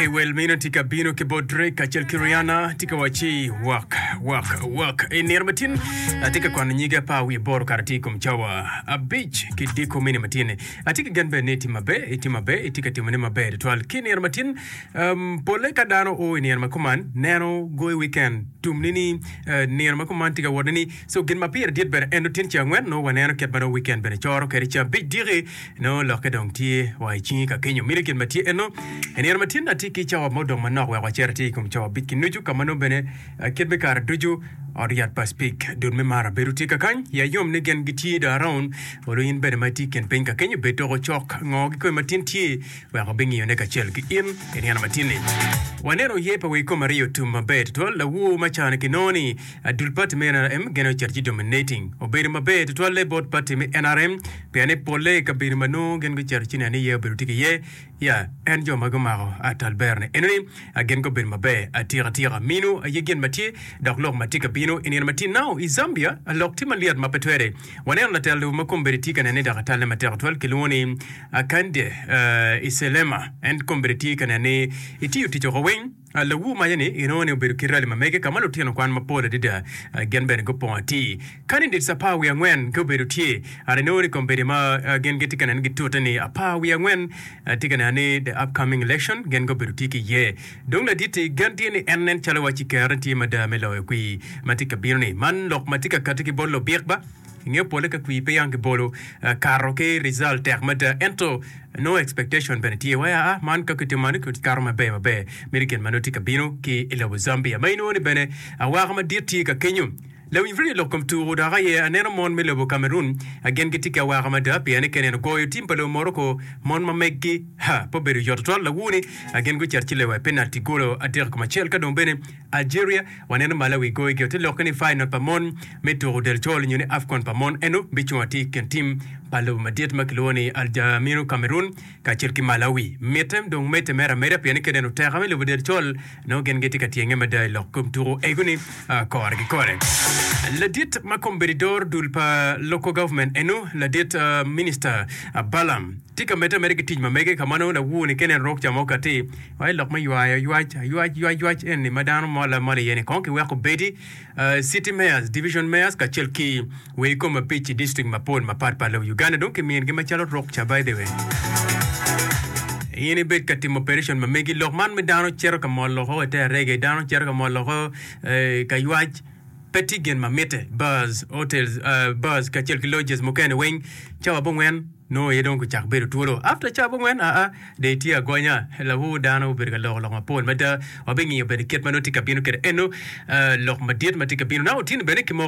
Okay, well, mino tye ka bino ki bot Drake kacel ki Rihanna tye ka wacci work, work, work. I nino matin atye ka kwano nyige apar wiye aboro kare tye i kom cawa abic ki diko mini matin-ni. Atye ki gen bene ni itye maber, itye maber, itye ka timone maber tutwal. Ki i nino matin, um, polle ka dano o i nino ma kuman, neno goyo weekend tum-ni ni eh, nino ma kuman tye ka wot ni so gin ma pire dit bene en otin ceng angwen nongo waneno kit ma nongo weekend bene coro kwede ceng abic diki Nongo lokke dong tye wa i cingi ka kenyo. Miti gin ma tye eno. I nino ma tin atye ki cawa mo dong manok wek wacer atir i kom cawa abic ki nucu ka ma nongo bene kit me kare ducu ot yat pa Speke dul me mar abedo tye kakany. Iya yom ni gin gitye dong around. Olo in bene ma itye i kin piny ka kenyo bed toko cok ngo kikome ma tin tye wek wabingiyone kacel ki in i nino ma tin-ni. Waneno ye pa wi kom ariyo tum maber tutwal. Lawur ma cani kinongo ni Dul pati me nrm gene ocito ci dominating obedo maber tutwalle bot pati me nrm pien ni polle i kabedo ma nongo gin gucito ci neno ni iye obedo tye ki iye ya en jo ma gumako atal bero ni enoni gin gubedo maber atika tika minu aye gin ma tye dok lok ma tye ka bino i nino ma tye now i Zambia lok tye malyet ma pe twere waneno latel lobo ma kombeddi tye ka nene ni dok atalle matek tutwal kilwongo ni Akande Iselema en kombeddi tye ka neno ni itiyo tic oko weng. Lawu maye ni inongo ni obedo ki rali ma mege ka ma lutino kwan mapol adada gin bene gupongo atir. Candidates apar wiye angwen gubedo tye. And inongo ni kombeddi ma gin gitye ka neno gitute ni apar wiye angwen tye ka neno ni the upcoming election gin gubedo tye ki iye. Dong ladit-ti gen tye ni en nen calo waci kerone tye mada me loyo kwir ma tye ka bino ni. Man lok ma tye ka kati ki bot lubik ba. Inge pole ka kwir pe yang kibolo kato ki result tek mada ento nongo expectation bene tye wai aa man ka kitimo man kato maber maber meno gin ma nongo tye ka bino ki i lobo Zambia ma inongo ni bene awaka madit tye ka kenyo. Lawiny radio lok kom tuku dok aye aneno mon me lobo Cameroon gin gitye ki awaka mada pien ni ka ineno goyo tim pa lobo Morocco mon ma meggi ha pe obedo yot tutwal lawuni gin gucito ci lewa i penalty golo adek kom acel ka dong bene Algeria, Waneno Malawi goyo gi ote lokke ni final pa mon me tuko del col nyo ni AFCON pa mon eno bicung atir i kin tim pa lobo madit ma kilwongo ni Algeria, Cameroon kacel ki Malawi. Mitte dong medde mere ameda pien ni ka ineno oteka me lobo del col nongo gin gitye ka tyenge mada i lok kom tuko ego ni kore ki kore. Ladit ma kombeddi doro dul pa local government eno ladit minister Balaam tye ka medde ameda ki tic ma mege ka ma nongo lawur ni ka ineno rok ca mo kati Wai lok me ywayo ywac, aywac, ywac, ywac eni ma dano mol amola iye ni kong kiwek obedi city mayors, division mayors kacel ki wegi kom abic i district mapol mapat pat lobo Uganda dong kimingi macalo rukca by the way. In ibed ka timo operation ma megi lok man me dano cito ka molo oko i te arege, dano cito ka molo oko ka ywac pe tye gin ma mitte bars, hotels, bars kacel ki lodges mukene weng cawa abongwen Nongo aye dong gucak bedo twolo. After ca abongwen aa, dong itye agonya. Lawor dano obedo ka loko lok mapol mada. Wabingiyo bene kit ma nongo tye ka bino kwede eno, lok madit ma tye ka bino. Naka otyeno bene kimoko.